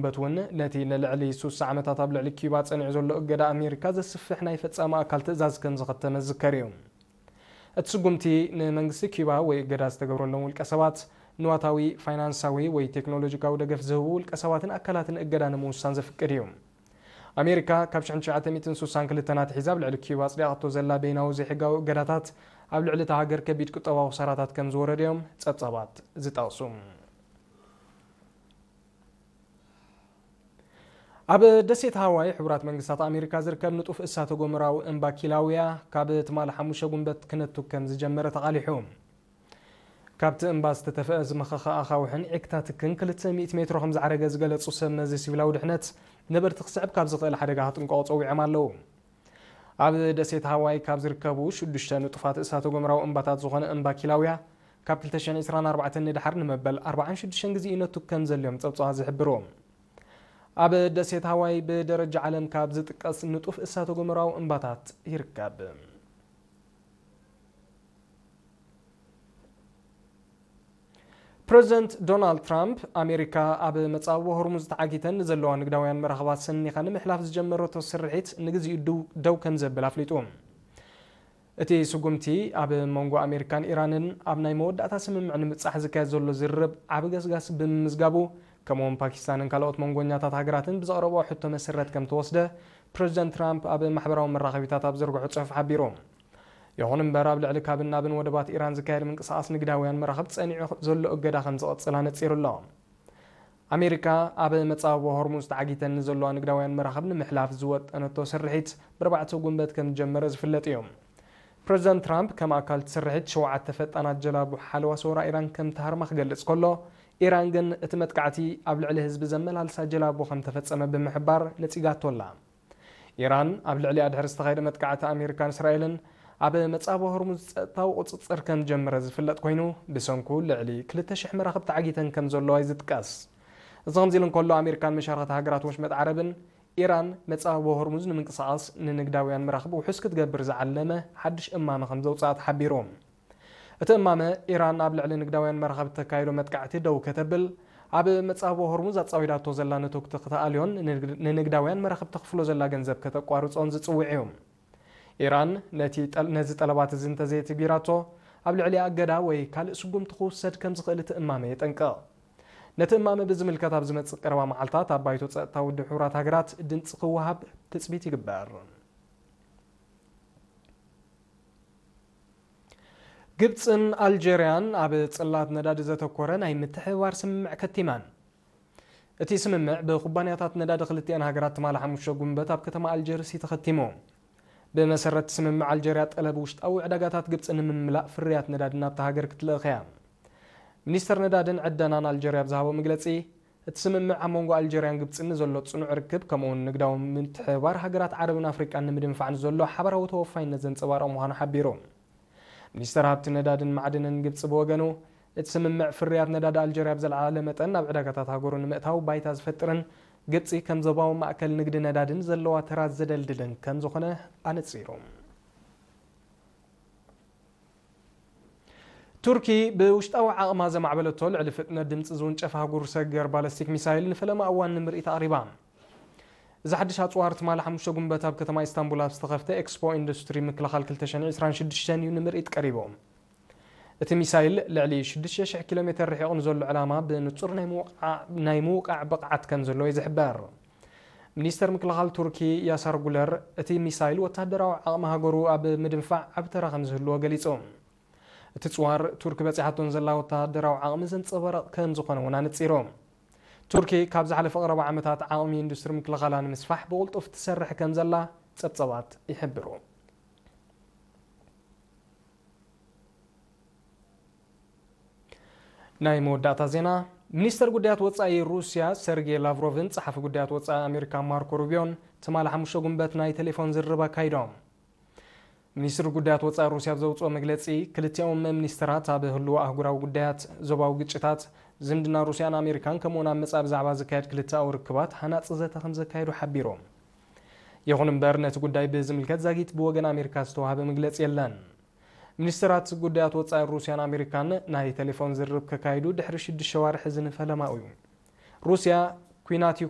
በት እውን ነቲ ንልዕሊ ሱሳ ዓመታት ኣብ ልዕሊ ኪዩባ ጸኒዑ ዘሎ እገዳ ኣሜሪካ ዘስፍሕ ናይ ፈጻሚ ኣካል ትእዛዝ ከም ዝኸተመ ዝዝከር እዩ። እቲ ስጉምቲ ንመንግስቲ ኪዩባ ወይ እገዳ ዝተገብረሎም ውልቀ ሰባት፣ ንዋታዊ፣ ፋይናንሳዊ ወይ ቴክኖሎጂካዊ ደገፍ ዝህቡ ውልቀ ሰባትን ኣካላትን እገዳ ንምውሳን ዘፍቅድ እዩ። ኣሜሪካ ካብ ሽሕን ትሽዓተ ሚእትን ሱሳን ክልተን ኣትሒዛ ኣብ ልዕሊ ኪዩባ ኣጽዲቓቶ ዘላ በይናዊ ዘይሕጋዊ እገዳታት ኣብ ልዕሊ እታ ሃገር ከቢድ ቁጠባዊ ክሳራታት ከም ዝወረደ እዮም ጸብጻባት ዝጠቕሱ። ኣብ ደሴት ሃዋይ ሕቡራት መንግስታት ኣሜሪካ ዝርከብ ንጡፍ እሳተ ጎመራዊ እምባ ኪላውያ ካብ ትማሊ ሓሙሽተ ጉንበት ክነቱ ከም ዝጀመረ ተቓሊሑ። ካብቲ እምባ ዝተተፍአ ዝመኸኸ ኣኻውሕን ዒክታትክን ክልተ ሚእቲ ሜትሮ ከም ዝዓረገ ዝገለጹ ሰብ መዚ ሲቪላዊ ድሕነት፣ ነበርቲ ክስዕብ ካብ ዝኽእል ሓደጋ ክጥንቀቑ ጸዊዖም ኣለዉ። ኣብ ደሴት ሃዋይ ካብ ዝርከቡ ሽዱሽተ ንጡፋት እሳተ ጎመራዊ እምባታት ዝኾነ እምባ ኪላውያ፣ ካብ ክልተ ሽሕን ዕስራን ኣርባዕተን ንድሓር ንመበል ኣርባዓን ሽዱሽተን ግዜ ይነቱ ከም ዘልዮም ጸብጻባት ዝሕብሩ። ኣብ ደሴት ሃዋይ ብደረጃ ዓለም ካብ ዝጥቀስ ንጡፍ እሳተ ጎመራዊ እምባታት ይርከብ። ፕረዚደንት ዶናልድ ትራምፕ፣ ኣሜሪካ ኣብ መጻብቦ ሆርሙዝ ተዓጊተን ንዘለዋ ንግዳውያን መራኽባት ሰኒኻ ንምሕላፍ ዝጀመረቶ ስርሒት ንግዚኡ ድው-፣ ደው ከም ዘብል ኣፍሊጡ። እቲ ስጉምቲ ኣብ መንጎ ኣሜሪካን ኢራንን ኣብ ናይ መወዳእታ ስምምዕ ንምብጻሕ ዝካየድ ዘሎ ዝርርብ ዓቢ ገስጋስ ብምምዝጋቡ፣ ከምኡውን ፓኪስታንን ካልኦት መንጎኛታት ሃገራትን ብዘቕረብኦ ሕቶ መሰረት ከም ተወስደ፣ ፕረዚደንት ትራምፕ ኣብ ማሕበራዊ መራኸቢታት ኣብ ዘርግሖ ጽሑፍ ሓቢሩ። ይኹን እምበር፣ ኣብ ልዕሊ ካብን ናብን ወደባት ኢራን ዝካየድ ምንቅስቓስ ንግዳውያን መራኽብ ጸኒዑ ዘሎ እገዳ ከም ዝቕጽል ኣነጺሩ ኣሎ። ኣሜሪካ ኣብ መጻብቦ ሆርሙዝ ተዓጊተን ንዘለዋ ንግዳውያን መራኽብ ንምሕላፍ ዝወጠነቶ ስርሒት ብኣርባዕተ ጉንበት ከም ዝጀመረ ዝፍለጥ እዩ። ፕረዚደንት ትራምፕ ከም ኣካል እቲ ስርሒት ሸውዓተ ፈጣናት ጀላቡ ሓለዋ ሰውራ ኢራን ከም ተሃርማ ክገልጽ ከሎ፣ ኢራን ግን እቲ መጥቃዕቲ ኣብ ልዕሊ ህዝቢ ዘመላልሳ ጀላቡ ከም ተፈጸመ ብምሕባር ነጺጋቶ ኣላ። ኢራን ኣብ ልዕሊኣ ድሕሪ ዝተኻየደ መጥቃዕቲ ኣሜሪካን እስራኤልን ኣብ መጻብቦ ሆርሙዝ ጸጥታዊ ቁጽጽር ከም ዝጀመረ ዝፍለጥ ኮይኑ፣ ብሰንኩ ልዕሊ ክልተ ሽሕ መራኽብ ተዓጊተን ከም ዘለዋ እዩ ዝጥቀስ። እዚ ከምዚ ኢሉ እንከሎ፣ ኣሜሪካን መሻርኽቲ ሃገራት ወሽመጥ ዓረብን ኢራን መጻብቦ ሆርሙዝ ንምንቅስቓስ ንንግዳውያን መራኽብ ውሑስ ክትገብር ዝዓለመ ሓድሽ እማመ ከም ዘውጽኣ ተሓቢሩ። እቲ እማመ፣ ኢራን ኣብ ልዕሊ ንግዳውያን መራኽብ እተካይዶ መጥቃዕቲ ደው ከተብል፣ ኣብ መጻብቦ ሆርሙዝ ኣጻዊዳቶ ዘላ ነቶግቲ ክተኣልዮን ንንግድ-፣ ንንግዳውያን መራኽብ ተኽፍሎ ዘላ ገንዘብ ከተቋርጾን ዝጽውዕ እዩ። ኢራን ነቲ ጠል-፣ ነዚ ጠለባት እዚ እንተዘየትግቢራቶ፣ ኣብ ልዕሊኣ እገዳ ወይ ካልእ ስጉምቲ ክውሰድ ከም ዝኽእል እቲ እማመ የጠንቅቕ። ነቲ እማመ ብዝምልከት ኣብ ዝመጽእ ቀረባ መዓልታት ኣብ ባይቶ ጸጥታ ውድብ ሕቡራት ሃገራት ድምጺ ክወሃብ ትጽቢት ይግበር። ግብጽን ኣልጀርያን ኣብ ጽላት ነዳዲ ዘተኮረ ናይ ምትሕብባር ስምምዕ ከቲመን። እቲ ስምምዕ ብኩባንያታት ነዳዲ ክልቲኣን ሃገራት ትማሊ ሓሙሽተ ጉንበት ኣብ ከተማ ኣልጀርስ እዩ ተኸቲሙ። ብመሰረት ስምምዕ ኣልጀርያ ጠለብ ውሽጣዊ ዕዳጋታት ግብጺ ንምምላእ ፍርያት ነዳዲ ናብታ ሃገር ክትልእኽ እያ። ሚኒስተር ነዳድን ዕደናን ኣልጀርያ ኣብ ዝሃቦ መግለጺ፣ እቲ ስምምዕ ኣብ መንጎ ኣልጀርያን ግብጽን ንዘሎ ጽኑዕ ርክብ፣ ከምኡውን ንግዳዊ ምትሕብባር ሃገራት ዓረብን ኣፍሪቃን ንምድንፋዕ ንዘሎ ሓባራዊ ተወፋይነት ዘንጸባርቕ ምዃኑ ሓቢሩ። ሚኒስተር ሃብቲ ነዳድን ማዕድንን ግብጺ ብወገኑ፣ እቲ ስምምዕ ፍርያት ነዳዲ ኣልጀርያ ብዝለዓለ መጠን ናብ ዕዳጋታት ሃገሩ ንምእታው ባይታ ዝፈጥርን ግብጺ ከም ዞባዊ ማእከል ንግዲ ነዳድን ዘለዋ ተራ ዘደልድልን ከም ዝኾነ ኣነጺሩ። ቱርኪ ብውሽጣዊ ዓቕማ ዘማዕበለቶ ልዕሊ ፍጥነት ድምጺ ዝውንጨፍ ኣህጉር ሰገር ባለስቲክ ሚሳይል ንፈለማ እዋን ንምርኢት ኣቕሪባ። እዚ ሓድሽ ኣጽዋር ትማሊ ሓሙሽተ ጉንበት ኣብ ከተማ ኢስታንቡል ኣብ ዝተኸፍተ ኤክስፖ ኢንዱስትሪ ምክልኻል ክልተ ሽሕን ዕስራን ሽዱሽተን እዩ ንምርኢት ቀሪቡ። እቲ ሚሳይል ልዕሊ ሽዱሽተ ሽሕ ኪሎ ሜተር ርሒቑ ንዘሎ ዕላማ ብንጹር ናይ ምውቃዕ፣ ናይ ምውቃዕ ብቕዓት ከም ዘለዎ እዩ ዝሕበር። ሚኒስተር ምክልኻል ቱርኪ ያሳር ጉለር፣ እቲ ሚሳይል ወተሃደራዊ ዓቕሚ ሃገሩ ኣብ ምድንፋዕ ዓቢ ተራ ከም ዝህልዎ ገሊጹ። እቲ ጽዋር ቱርኪ በጺሓቶን ዘላ ወተሃደራዊ ዓቕሚ ዘንጸባርቕ ከም ዝኾነ እውን ኣነጺሩ። ቱርኪ ካብ ዝሓለፈ ቀረባ ዓመታት ዓቕሚ ኢንዱስትሪ ምክልኻላ ንምስፋሕ ብቕልጡፍ ትሰርሕ ከም ዘላ ጸብጸባት ይሕብሩ። ናይ መወዳእታ ዜና፣ ሚኒስተር ጉዳያት ወጻኢ ሩስያ ሰርጌ ላቭሮቭን ጸሓፊ ጉዳያት ወጻኢ ኣሜሪካ ማርኮ ሩቢዮን ትማሊ ሓሙሽተ ጉንበት ናይ ቴሌፎን ዝርርብ ኣካይዶም። ሚኒስትሪ ጉዳያት ወጻኢ ሩስያ ኣብ ዘውጽኦ መግለጺ፣ ክልቲኦም ሚኒስተራት ኣብ ህልዎ ኣህጉራዊ ጉዳያት፣ ዞባዊ ግጭታት፣ ዝምድና ሩስያን ኣሜሪካን፣ ከምኡውን ኣብ መጻኢ ብዛዕባ ዝካየድ ክልተኣዊ ርክባት ሃናጺ ዘተ ከም ዘካየዱ ሓቢሮም። ይኹን እምበር፣ ነቲ ጉዳይ ብዝምልከት ዛጊት ብወገን ኣሜሪካ ዝተዋህበ መግለጺ የለን። ሚኒስተራት ጉዳያት ወጻኢ ሩስያን ኣሜሪካን ናይ ቴሌፎን ዝርርብ ከካይዱ ድሕሪ ሽዱሽተ ኣዋርሕ እዚ ንፈለማኡ እዩ። ሩስያ ኲናት